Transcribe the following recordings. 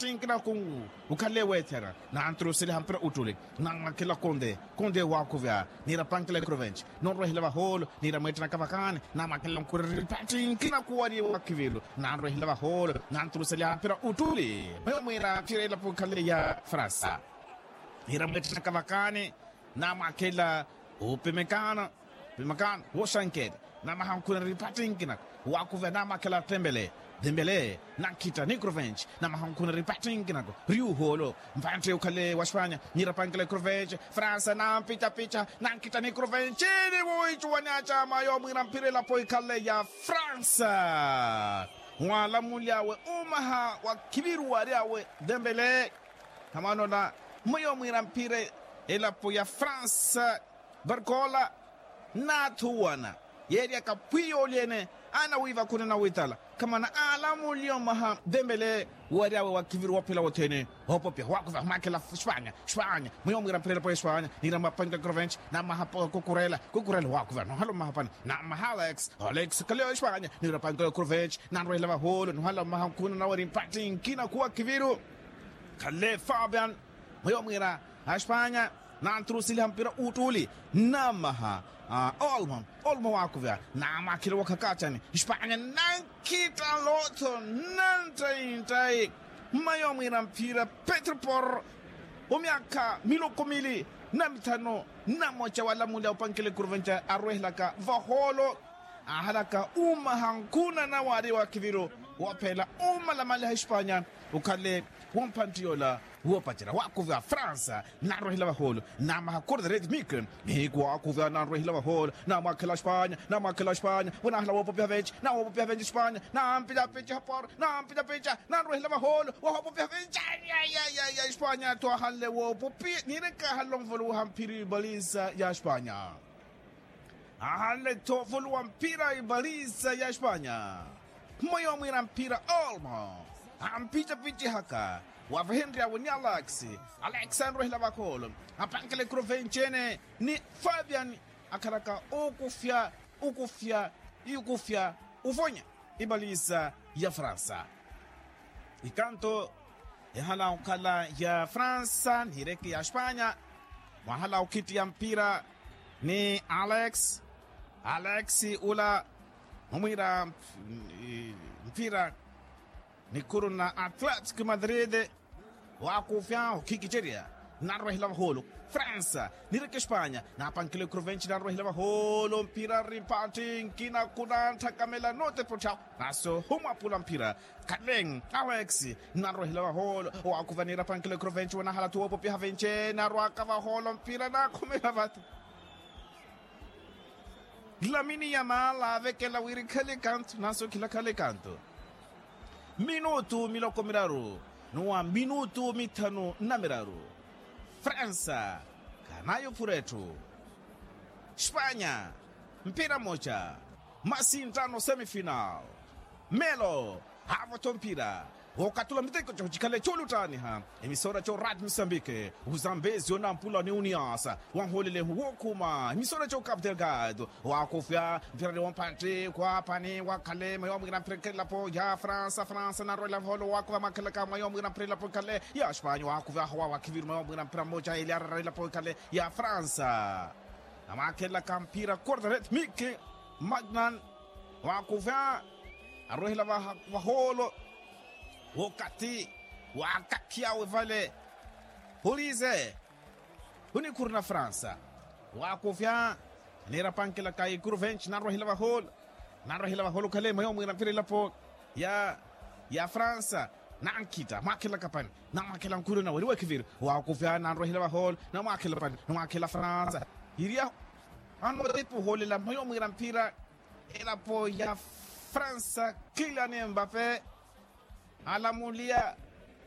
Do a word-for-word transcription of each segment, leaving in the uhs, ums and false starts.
Tti nkinaku, ukhale weethera. Nanturuseliha mpira uttuli, namwakhela konde konde waakuvya niira pankela ekrovenci. Nonrwehela vahoolo niira mweettanaka vakaani, namwakhela nkureri patti nkinaku wari waakhiviru. Nanrwehela vahoolo nanturuseliha mpira uttuli, mweyo mwiira mpira elapo ikhale ya fransa. Niira mweettanaka vakaani, namwakhela upimikana. Pimikana wooxankeela, namaha nkhuna ripatti nkinaku. Waakuvya namwakhela tembele. Tembele, nankhitta ni krovenci, namaha nkhuna ripatti nkinaku. Riuhoolo, mpantte ukhale wa xpanya niira pankela krovenci. Fransa nampicapica, nankhitta ni krovenci, ni wuuhicuwani acama yoomuhiira mpira elapo ikhale ya fransa. Waalamuly'awe umaha wa khiviru waary'awe tembele. Khamanola, mweyo mwiira mpira elapo ya fransa. Varkola, naathuwana yeeryaka phwiya olyeene, anawiivakhuna nawitala. Khamana aalamuliya omaha tembele, wary'awe wa khiviru woophela wothene. Oopopya waakuvya mwakhela xpanya. Xpanya, mweyo mwiira mpira elapo ya xpanya niira mwapanka krovenci, namaha kukurela kukurela waakuvya nohala omaha pani, namaha alex. Alex khaleyo xpanya niira pankelo krovenci, nanrwehela vahoolo nohala omaha nkhuna nawari mpatti nkinaku wa khiviru. Khale fabian, mweyo mwiira axpanya, nanturuseliha mpira uttuli, namaha olmo. Olmo waakuvya, namwakhela wookha kaacani. Xpanya nankhitta lotho, nanttayi nttayi. Mweyo mwiira mpira petro por, omyaakha miloko mili na mithanu na mmoca waalamuliya opankela ekrovenci, arwehelaka vahoolo, aahalaka umaha nkhuna nawaari wa khiviru, woophela umalamaliha expanya. Ukhale wompantti yoola woopacerya waakuvya fransa, nanrwehela vahoolo, namaha corda rede mike. Mike waakuvya nanrwehela vahoolo, namwakhela xpanya, namwakhela xpanya, wanahala woopopiha venci, nawoopopiha venci xpanya, nampicapica hapor, nampicapica, nanrwehela vahoolo wahoopopiha venci. Aya aya aya aya xpanya tho ahanle woopopiha niireke ahanle onvuluwiha mphira ibalisa ya xpanya. Ahanle tho ovuluwa mphira ibalisa ya xpanya. Mweyo mwiira mphira olmo, ampicapicihaka, wavehenry'awe ni alex. Alex anrwehela vahoolo, apankela ekrovenci ene ni fabian, akhalaka okufya, ukufya, ukufya, uvonya ibalisa ya fransa. Ikanto yahala okhala ya fransa niireke ya xpanya. Mwahala okhittiya mpira ni alex. Alex ula mumwiira mpira nikhuru na atletic madrid. Waakufya okhikicerya, nanrwehela vahoolo fransa niireke xpanya, napankela ekrovenci nanrwehela vahoolo mpira ripatti nkinaku nanthakamela notepa otthawa. Naso humwapula mphira khale alex, nanrwehela vahoolo waakuvya niira pankela ekrovenci wanahala tho woopopiha venci, narwaka vahoolo mpira nakhumela vata. Lamini yamala avekela wiri khale kantu naso khila khale kantu. Minutu miloko miraru, nuwa minutu mithanu na miraru. Fransa khanayuphura etthu. Xpanya mpira mmoca, masinttano semifinal. Melo, haavo-tho mpira wookatula miteko coocikhale cooluttaaniha. Emisora co rad mosambike, uzambezio nampula ni unias, wanhoolelehu wookhuma emisora co cap delgado. Waakufya mpira ni wompantti khwaapani wakhale mweyo mwiira mpira elapo ya fransa fransa nanrwela vahoolo waakufya mwakhelaka mweyo mwiira mpira elapo ikhale ya xpanya waakufya howa wakhiviru mweyo mwiira mpira mmoca eliarara elapo ikhale ya fransa. Namwakhelaka mpira corda rede mike, magnan, waakuvya arwehela vahoolo. Wookathi waakakhiyawe vale, polize onikhuru na fransa. Waakuvya niira pankela ka ikuru venci nanrwehela vahoolo. Nanrwehela vahoolo khale mweyo mwiira mpira elapo ya fransa. Nankhitta mwakhelaka pani, namwakhela nkhuru na wari wakhiviru. Waakuvya nanrwehela vahoolo, namwakhela pani, namwakhela fransa. Iriya anotepa ohoolela mweyo mwiira mpira elapo ya fransa kilian mbape. Alamuliya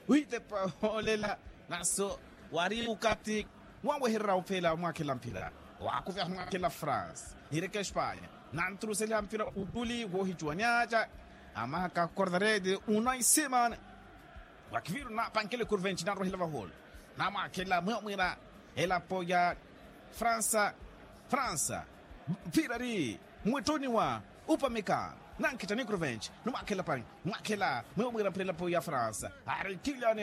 wiitepa ohoolela, naso wari ukathi wawehererya ophela omwakhela mpira. Waakuvya omwakhela fransa niireke espanya, nanturuseliha mpira uttuli woohicuwani aca. Amahaka corda rede unai simon. Wakhiviru napankela ekurvenci nanrwehela vahoolo, namwakhela mweyo mwiira elapo ya fransa. Fransa mpira ari mwittuni wa upameka, nankhitta ni kurvenci, numwakhela pani, mwakhela mweyo mwiira mpira elapo ya fransa. Ari kilian